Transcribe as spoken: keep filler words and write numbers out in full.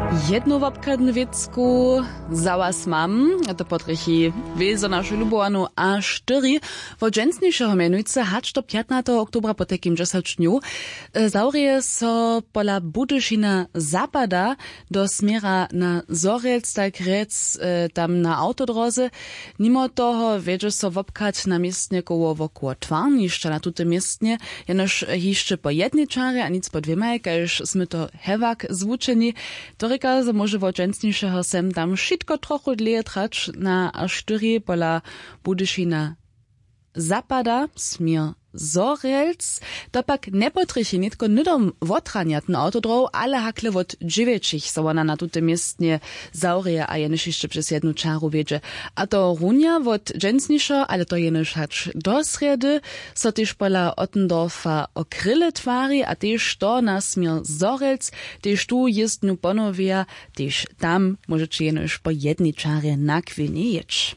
Jednu wobchadnu wěcku za was mam, a to potrjechi wězo našu lubowanu a štyri. Wot dźensnišeho mjenujcy hač do pjatnateho oktobra potajkim dźesać dnjow zawrěje so pola budyšina zapada do směra na zhorjelc, tak rjec, tam na awtodróze. Nimo toho wjedźe so wobchad na městnje koło wokoło twarnišća na tutym městnje, jenož hišće po jednej čarje a nic po dwěmaj, kaž smy to hewak zwučeni. To rěka, zo móže wot dźensnišeho sem tam wšitko trochu dlěje trać na štyri pola budyšina zapada směr zhorjelc. To pak njepotrjechi nětko hnydom wotranjatny awtodróh, ale hakle wot dźewjećich so wona na tutym městnje zawrěje a jenož hišće přez jednu čaru wjedźe. A to runja wot dźensnišeho, ale to jenož hač do srjedy, so tež pola ottendorfa o kryle twari a tež to na směr zhorjelc. Tež tu jězdnju ponowja, tež tam móžeće jenož po jednej čarje na chwilnje jěć.